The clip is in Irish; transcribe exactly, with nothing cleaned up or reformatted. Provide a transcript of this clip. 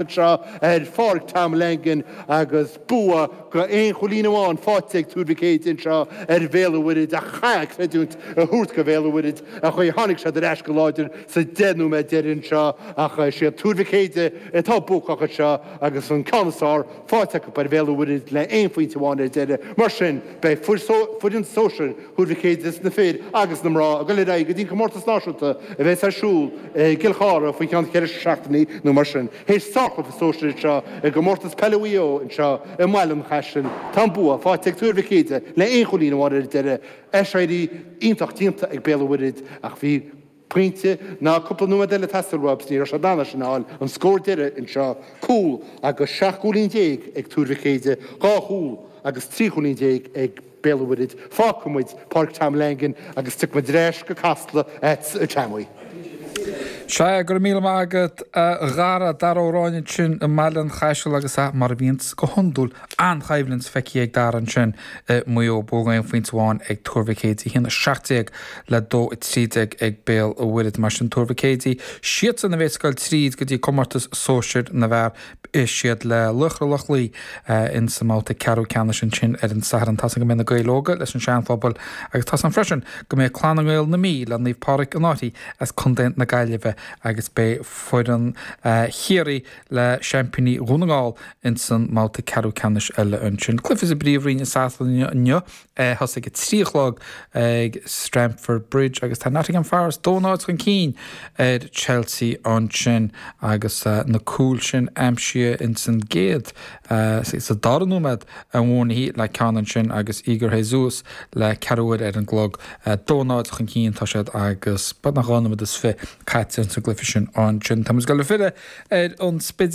Anseo ar Pháirc Tom Langan agus bua go aon chúilín amháin faighte ag Tuar Mhic Éadaigh anseo ar Bhéal an Mhuirthead ach chaithfeá creidiúint a thabhairt go Bhéal an Mhuirthead an chaoi a tháinig siad ar ais go láidir sa deich nóiméad deiridh anseo ach is iad Tuar Mhic Éadaigh atá buacach anseo agus an ceann is fearr faighte acu ar Bhéal an Mhuirthead le aon phointe amháin ar deireadh. Mar sin beidh foireann sóisir Thuar Mhic Éadaigh na fir agus na mná ag dul ar aghaidh go dtí an comórtas náisiúnta a bheas ar siúl i gCill Chartha faoi cheann ceithre seachtainí nó mar sin. Théis sárchluiche sóisir anseo i gcomórtas peile Mhaigh Eo anseo i mBaile an Chaisil, tá an bua faighte ag Tuar Mhic Éadaigh le aon chúilín amháin ar deireadh. Aiséirí iontach déanta ag Béal an Mhuirthead ach bhí pointe ná cúpla nóiméad eile ag teastáil uathu is ní raibh siad in ann é sin a fháil. An scór deiridh anseo, cúl agus seacht gcúilín déag ag Tuar Mhic Éadaigh, dhá chúl agus trí chúilín déag ag Béal an Mhuirthead. Fágfaidh muid Páirc Tom Langan agus tiocfaidh muid ar ais go Casla agatsa a Tommy. Sea, go raibh míle maith agat a Dhara, Dara Ó Ráinne ansin i mBaile an Chaisil agus mar a bhíonns go hiondúil, an-choimhlint feicthe ag Dara ansin i Maigh Eo, bua aon phointe amháin ag Tuar Mhic Éadaigh, a haon a seacht déag le dó a trí déag ag Béal an Mhuirthead. Mar sin Tuar Mhic Éadaigh, siadsan a bheas ag goil tríd go dtí comórtas sóisir na bhfear. Beidh siad le Laochra Loch Lao in sa mbabhta ceathrú ceannais ansin ar an Satharn. Tá's agam go mbeidh na Gaeil Óga leis an Seanphobal agus tá's agam freisin go mbeidh Clann na nGael na Mí le Naomh Pádraig an Fhairche as Contae na Gaillimhe agus beidh foireann Chiarraí le seaimpíní Dhún na nGall in san mbabhta ceathrú ceannais eile ansin. Cluiche sa bPríomhroinn i Sasana inniu. Thosaigh a trí a chlog ag Stamford Bridge agus tá Nottingham Forest dó náid chun cinn ar Chelsea ansin agus na cúil sin aimsithe ins an gcéad, sa dara nóiméad Awoniyi le ceann ansin agus Igor Jesus le ceathrú uaire ar an gclog. Dó náid chun cinn atá siad agus beagnach dhá nóiméad is fiche caite ins an gcluiche sin ansin. Tá muid ag dul ag filleadh ar an Spidéal.